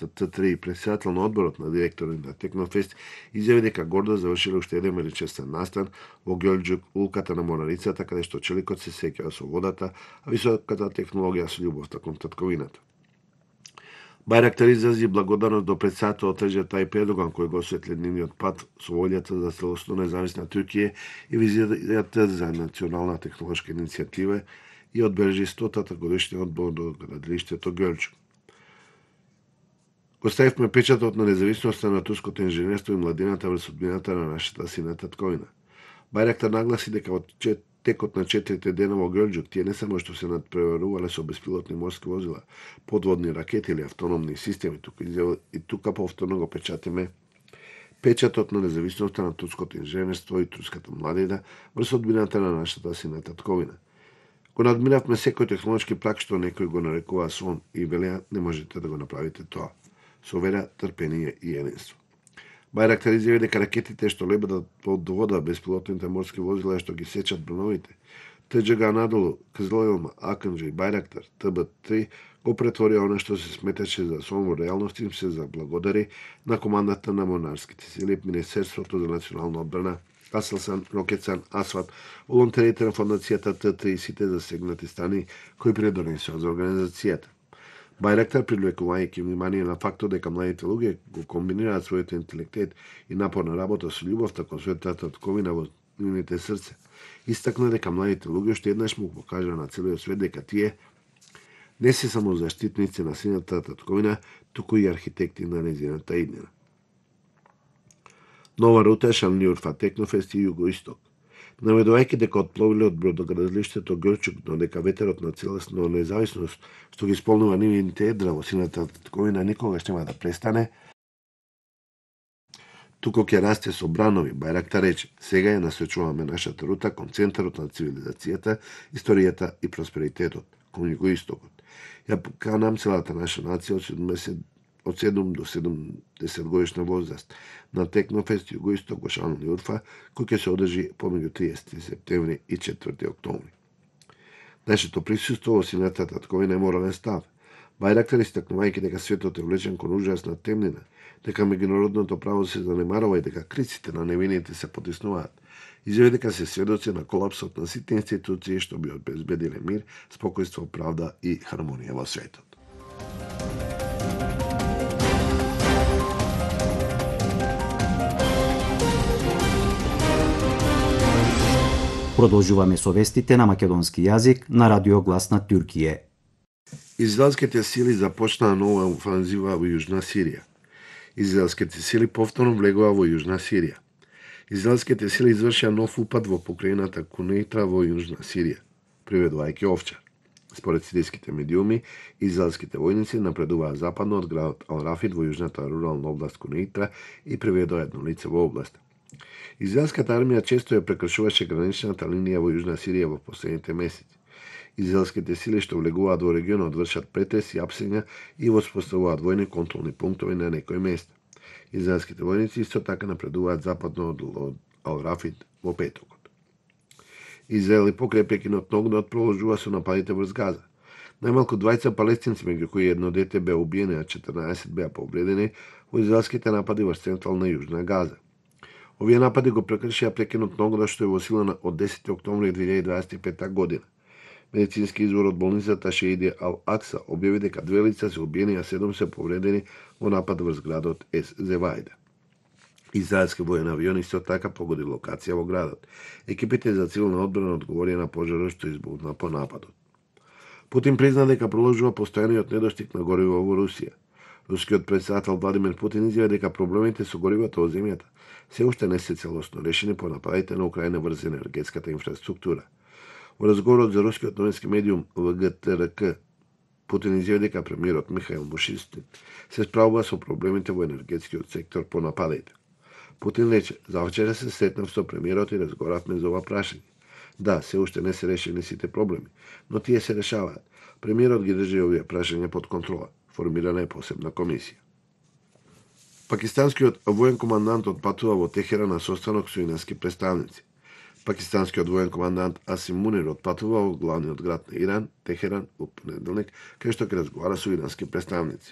компанијата Т3 и претседател на одборот на директори на Технофест изјави дека гордо завршиле уште еден величествен настан во Ѓелџук, улката на Морарицата, каде што челикот се сеќава со водата, а високата технологија со љубовта кон татковината. Бајрактар изрази благодарност до претседателот Реџеп Тајип Ердоган кој го осветли нивниот пат со волјата за целосно независна Туркија и визијата за национална технолошка иницијатива и одбележи 100-та годишна од градилиштето Ѓелџук. Го ставивме печатот на независноста на турското инженерство и младината врз судбината на нашата сина татковина. Бајрактар нагласи дека во текот на 4 дена во Ѓелџук тие не само што се надпреварувале со беспилотни морски возила, подводни ракети или автономни системи, тука повторно го печатиме печатот на независноста на турското инженерство и турската младина врз судбината на нашата сина татковина. Го надмиравме секој технолошки прак што некој го нарекува сон и велеа не можете да го направите тоа. Со вера, трпение и единство. Бајрактар изјави дека ракетите што лебедат под вода, беспилотните морски возила што ги сечат броновите, ТДЖ Анадолу, Кызыл Акынџи и Бајрактар, ТБ3 го претворија она што се сметаше за сон во реалност им се заблагодари на командата на Монарските сили, Министерството за национална одбрана, Аселсан, Рокетсан, Асват, волонтерите на фондацијата Т3 и сите засегнати страни кои придонесоа за организацијата. Бајрактар, привлекувајќи внимание на фактот дека младите луѓе го комбинираат својот интелектет и напорна работа со љубовта кон својата татковина во нивните срце, истакна дека младите луѓе уште еднаш му покажа на целиот свет дека тие не се само заштитници на сината татковина, туку и архитекти на нејзината иднина. Нова рута Шанлиурфа Технофест и Југоисток. Наведувајќи дека отпловиле од бродоградилиштето Ѓелџук, но дека ветерот на целосно независност што ги исполнува нивните едра во сината татковина никогаш нема да престане, туку ќе расте со бранови, Бајрактар рече, сега ја насочуваме нашата рута кон центарот на цивилизацијата, историјата и просперитетот, кон Југоистокот. Ја поканам целата наша нација од 7 до 70 годишна возраст на Технофест Југоисток во Шанлиурфа, кој ќе се одржи помеѓу 30 септември и 4 октомври. Нашето присуство во сината татковина е морален став. Бајрактар истакнувајќи дека светот е влечен кон ужасна темнина, дека меѓународното право се занемарува и дека криците на невините се потиснуваат. Изјави дека се сведоци на колапсот на сите институции што би обезбедиле мир, спокојство, правда и хармонија во светот. Продолжуваме со вестите на македонски јазик на Радио Глас на Туркија. Израелските сили започнаа нова офанзива во Јужна Сирија. Израелските сили повторно влегоа во Јужна Сирија. Израелските сили извршија нов упад во покрајината Кунейтра во Јужна Сирија, приведувајќи Овчар. Според сириските медиуми, израелските војници напредуваа западно од градот Ал-Рафид во јужната рурална област Кунейтра и приведоа едно лице во областа. Израелската армија често ја прекршуваше граничната линија во Јужна Сирија во последните месеци. Израелските сили што влегуваат во регионот вршат претреси, апсења и воспоставуваат војни контролни пунктови на некои места. Израелските војници исто така напредуваат западно од Ал-Рафид во петокот. Израел и покрај прекинот на огнот продолжува со нападите врз Газа. Најмалку 20 палестинци, меѓу кои едно дете беа убиени, а 14 беа повредени во израелските напади врз централна Јужна Газа. Овие напади го прекршија прекинот на огнот што е во сила од 10 октомври 2025 година. Медицински извор од болницата Шеиди Ал-Акса објави дека 2 лица се убиени, а 7 се повредени во напад врз градот Зевајда. Израелски воен авион исто така погоди локација во градот. Екипите за цивилна одбрана одговорија на пожарот што избухна по нападот. Путин призна дека продолжува постојаниот недостиг на гориво во Русија. Рускиот претседател Владимир Путин изјави дека проблемите со горивото во земјата се уште не се целосно решени по нападите на Украина врз енергетската инфраструктура. Во разговорот за рускиот новински медиум ВГТРК, Путин изјави дека премиерот Михаил Мишустин се справува со проблемите во енергетскиот сектор по нападите. Путин рече, завчера се сретнав со премиерот и разговаравме за ова прашање. Да, се уште не се решени сите проблеми, но тие се решаваат. Премиерот ги држи овие прашања под контрола. Формирана е посебна комисија. Пакистанскиот воен командант отпатува во Техеран на состанок со ирански представници. Пакистанскиот воен командант Асим Мунир отпатува во главниот град на Иран, Техеран, во понеделник, кај што ќе разговара со ирански представници.